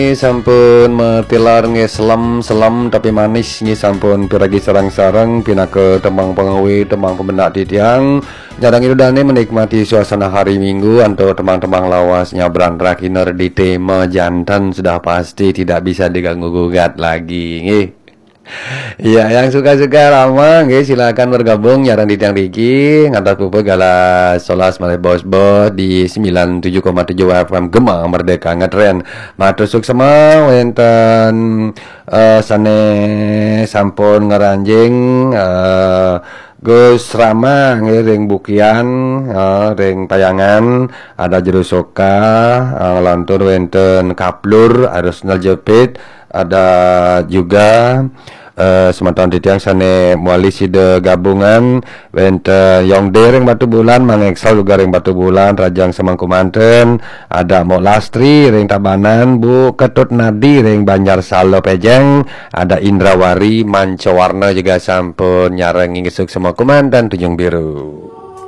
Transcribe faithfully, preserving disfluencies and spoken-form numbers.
Sampun matilar nggih, selem-selem tapi manis nggih, sampun piragi sareng-sareng pinaka tembang pangawi, tembang pamendak titiang. Nyarengin ida dane menikmati suasana hari Minggu antuk tembang-tembang lawas nyabran rakhina redite majanten sudah pasti tidak bisa diganggu gugat lagi nggih. Iya, yang suka-suka rama nggih, silakan bergabung nyareng titiang riki ngantos puput galah solas malih bos-bos di sembilan tujuh koma tujuh F M Gema Merdeka Ngetren. Matur suksma wenten eh, sane sampun ngranjing eh, Gus Rama nggih ring Bukian, eh, ring Payangan, ada Jero Soka, eh, nglantur wenten Kaplur, Arus Naljepit, ada juga eh, semeton titiang sane mewali sida gabungan, wenten Yongde ring Batubulan, Mang Excel juga ring Batubulan, Rajang Semengku manten, ada Mok Lastri ring Tabanan, Bu Ketut Nadi ring Banjar Salo Pejeng, ada Indrawari Mancawarna juga sampun nyarengin nggih, suksma kumanten Tunjung Biru.